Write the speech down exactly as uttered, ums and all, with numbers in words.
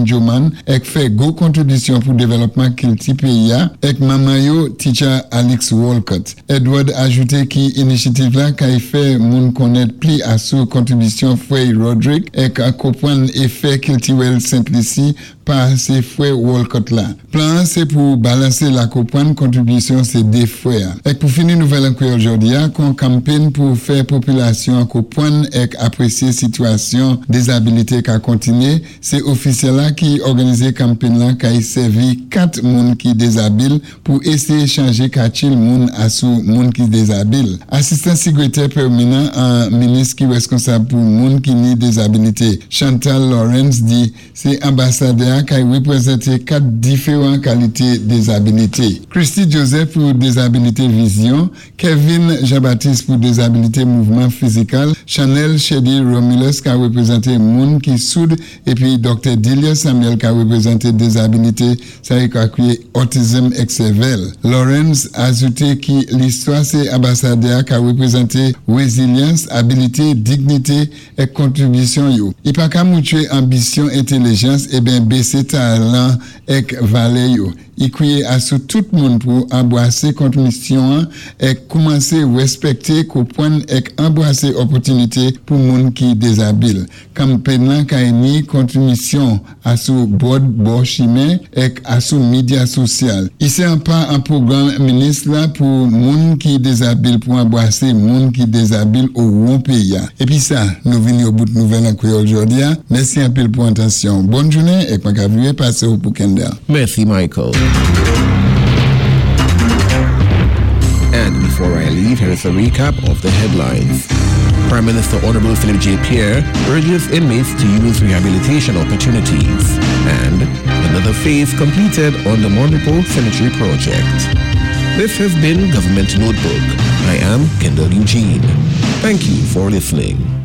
Joman èk fè gwo kontribisyon pou dévlòpman kilti péyi-a èk manman yo Teacher Alex Walcott. Edward ajouté ki inisyativ la kay fè moun konnèt pli asou kontribisyon Fwè Roderick èk konpwann éfè kiltiwèl Sent Lisi pa sé Fwè Walcott la. Plan sé pou balansé la konpwann kontribisyon sé dé fwè. Èk pou fini nouvèl an kwéyòl jòdi-a, kon kanpenn pou fè popilasyon konpwann èk apwésyé sitwasyon dézabilité ka kontiné, sé ofisyèl la ki òganizé kanpenn la kay sèvi kat moun ki dézabil pou éséyé chanjé katil moun asou moun ki dézabil. Asistan sikrétè pèmanan an minis ki wèskonsab pou moun ki ni dézabilité, Chantal Lawrence di sé anbasadè kay wépwézanté kat diféwan kalité dézabilité. Christy Joseph pou dézabilité vizyon, Kevin Jean-Baptiste pou dézabilité mouvman fizikal, Chanel Chedi Romulus ka wépwézanté moun ki soud épi Doktè Delia Samuel ka wépwézanté dézabilité sa yo ka kwiyé autism èk sèvèl. Lawrence ajouté ki listwa sé anbasadè ka wépwézanté wézilyans, abilité, dignité èk kontribisyon yo. I pa ka moutwé anbisyon, entèlijans é ben bésé talan èk valè yo. I kwiyé asou tout moun pou anbwasé kontribisyon èk koumansé wèspèkté, konpwann èk anbwasé òpòtinité pou moun ki dézabil. Kanpenn lan kay ni kontribisyon asou bòd bò chimen èk asou midya sosyal. I sé an pa an pwogram minis la pou moun ki dézabil pou anbwasé moun ki dézabil o won péyi-a. Épi sa, nou vini o bout nouvèl an kwéyòl jòdi-a. Mèsi anpil pou atansyon. Bòn jounen èk mwen ka viré pasé ou pou Kendall. Mèsi Michael. And before I leave, here is a recap of the headlines. Prime Minister Honorable Philip J. Pierre urges inmates to use rehabilitation opportunities. And another phase completed on the Mon Repos Cemetery project. This has been Government Notebook. I am Kendall Eugene. Thank you for listening.